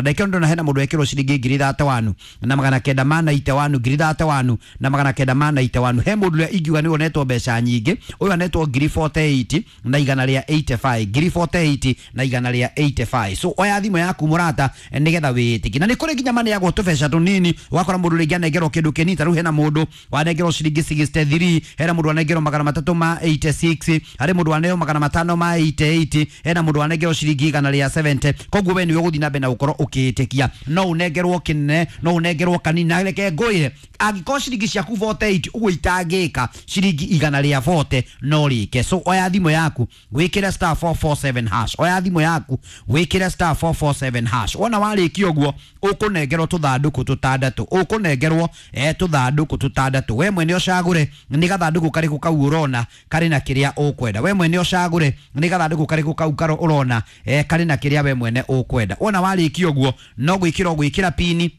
Ndekero ndona hena mundu ekirwo ciringi ngiri 31 na magana kenda ma 91, ngiri 31 na magana kenda ma 91. He mundu uria ingiuga ni wonetwo mbeca nyingi, uyu anetwo ngiri 48 na igana ria 85, ngiri 48 na igana ria 85. So oya thimu yaku murata, nigetha witikie. Na ni kuri nginya maneagwo tubeca tunini, wakora mundu ringi anengerwo kindu kinini. Ta riu hena mundu wanengerwo ciringi 63, hena mundu wanengerwo magana matatu ma 86, hari mundu waneo magana matano ma 88, hena mundu wanengerwo ciringi igana ria 70. Koguo we niwe uguthii na mbere na gukorwo ukitikia. No unengerwo kinene, no unengerwo kanini. Na reke ngwire, angikorwo ciringi ciaku 48 uguo itangika ciringi igana ria 40 no rike. So oya thimu yaku wikire star 447 hash, oya thimu yaku wikire star 447 hash. Wona warikia uguo ukunengerwo tuthanduku tutandatu, ukunengerwo tuthanduku tutandatu. We mwene ucagure ni gathanduku kariku kau urona kari na kiria ukwenda. We mwene ucagure ni gathanduku kariku kau karo urona kari na kiria we mwene ukwenda. Wona warikia uguo no gwikira gwikira pini,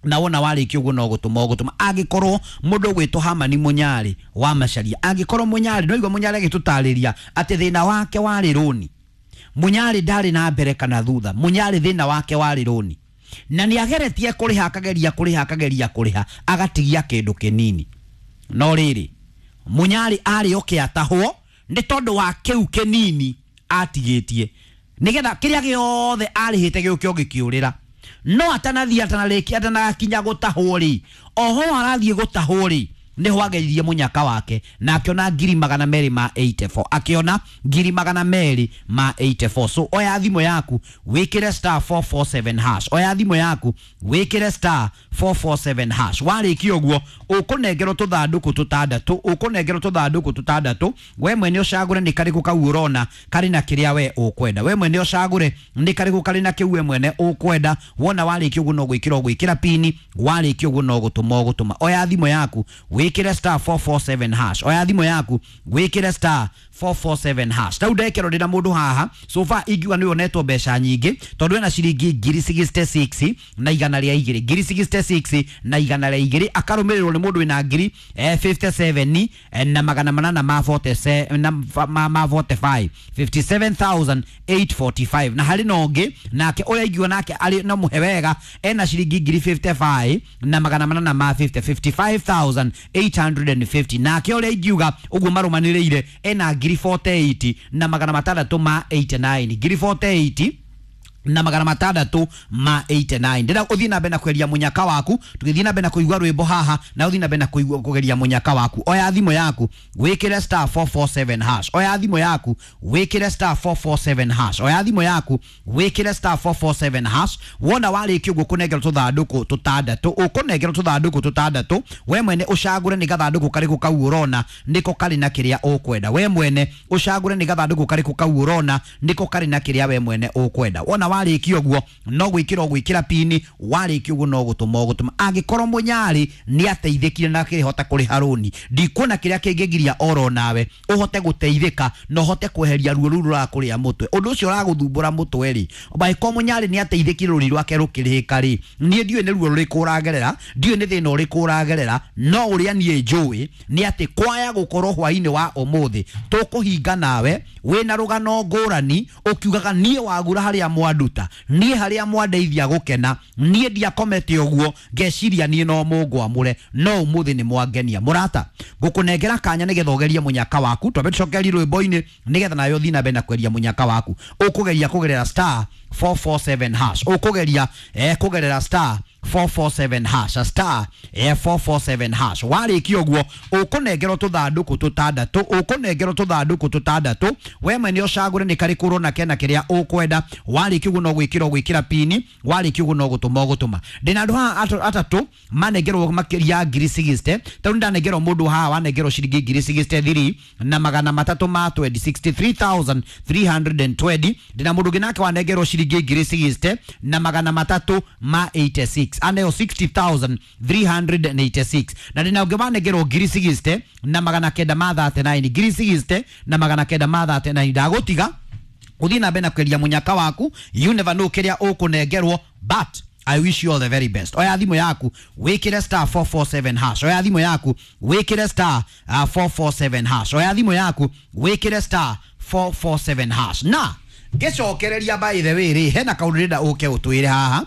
na wona warikia uguo no gutuma ugutuma. Angikorwo mundu gwitwo Hamani Munyari wa Macharia, angikorwo Munyari no igua Munyari agitutariria ati thina wake wari runi, Munyari ndari na mbere kana thutha, Munyari thina wake wari runi, na ni ageretie kuriha, akageria kuriha, akageria kuriha, agatigia kindu kinini. No riri, Munyari ari oke atahwo ni tondu wa kiu kinini atigitie, nigetha kiria giothe arihite giuke gikiurira. No atanathie, atanarikia, atanakinya gutahwo ri, oho arathie gutahwo ri, niho ageririe munyaka wake na akiona ngiri magana meri ma 84, akiona ngiri magana meri ma 84. So oya thimu yaku wikire star 447 hash, oya thimu yaku wikire star 447 hash. Warikia uguo ukunengerwo tuthanduku tutandatu, ukunengerwo tuthanduku tutandatu. We mwene ucagure ni kariku kau urona kari na kiria we ukwenda. We mwene ucagure ni kariku kari na kiu we mwene ukwenda. Wona warikia uguo no gwikira gwikira pini, warikia uguo no gutuma ugutuma. Oya thimu yaku wikire star 447 hash, oya thimu yaku wikire star 447 hash. Tau ndekero ndina mundu haha so far ingiuga ni onetwo mbeca nyingi, tondu ena ciringi ngiri 66 na igana ria igiri, ngiri 66 na igana ria igiri, akarumirirwo ni mundu wina ngiri 57 na magana manana ma 47 na ma 45, 57845. Na hari na ungi nake uria ingiuga nake ari no muhe wega, ena ciringi ngiri 55 na magana manana ma 50, 55850. Nake uria ingiuga uguo marumaniriire ena ngiri 48 na magana matandatu ma 89, ngiri 48 na magana matandatu ma 89. Ndira uthii na mbere na kweria munyaka waku, tugithii na mbere na kuigua rwimbo haha, na uthii na mbere na kuigua kugeria munyaka waku. Oya thimu yaku wikire star 447 hash, oya thimu yaku wikire star 447 hash, oya thimu yaku wikire star 447 hash. Wona warikia uguo kunengerwo tuthanduku tutandatu, ukunengerwo tuthanduku tutandatu. We mwene ucagure ni gathanduku kariku kau urona niko kari na kiria ukwenda. We mwene ucagure ni gathanduku kariku kau urona niko kari na kiria we mwene ukwenda. Wona warikia uguo no gwikira gwikira pini, warikia uguo no gutuma ugutuma. Angikorwo Munyari ni ateithikire na akihota kuriha runi, ndikuona kiria kingigiria oro nawe uhote guteithika na uhote kweheria ruo ruru rurakuria mutwe, undu ucio uraguthumbura mutwe ri. Angĩkorwo Munyari ni ateithikire rũni rwake rukirihika ri, nie ndiũĩ nĩ ruo rũrĩkũ ũragerera, ndiũĩ nĩ thĩna ũrĩkũ ũragerera, no ũrĩa niĩ njũĩ nĩ atĩ kwaya gũkorwo hwainĩ wa ũmũthĩ tũkũhinga nawe wĩna rũgano ngũrani, ũkiugaga niĩ wagura harĩa mwanduta, niĩ harĩa mwandeithia gũkena, niĩ ndiakomete ũguo ngeciria niĩ no mũngwamũre, no ũmũthĩ nĩ mwangenia. Mũrata, ngũkũnengera kanya nĩgetha ũgerie mũnyaka waku. Twambe tũcokerie rwĩmbo-inĩ nĩgetha nawe ũthiĩ na mbere na kweria mũnyaka waku. Ũkũgeria kũgerera star 447 hash, ũkũgeria kũgerera star 447 hash, star 447 hash. Warikia ũguo ũkũnengerwo tũthandũkũ tũtandatũ, ũkũnengerwo tũthandũkũ tũtandatũ. We mwene ũcagũre nĩ karĩkũ ũrona kena kĩrĩa ũkwenda. Warikia ũguo no gwĩkĩra gwĩkĩra pini, warikia ũguo no gũtũma ũgũtũma. Ndĩna andũ haha atatũ manengerwo makĩria ngiri 60, tondũ ndanengerwo mũndũ haha wanengerwo ciringi ngiri 63 na magana matatũ ma 20, 63320. Ndĩna mũndũ ũngĩ nake wanengerwo ciringi ngiri 60 na magana matatũ ma 86, aneo 60386. Na ndĩna ũngĩ wanengerwo ngiri 60 na magana kenda ma 39, ngiri 60 na magana kenda ma 39. Ndagũtiga uthii na mbere na kweria munyaka waku, you never know kiria ukunengerwo, but I wish you all the very best. Oya thimu yaku wikire star 447 hash, oya thimu yaku wikire star 447 hash, oya thimu yaku wikire star 447 hash. Na Ngĩcokereria, by the way rĩ, hena kaũndũ ndĩrenda ũke ũtwĩre haha.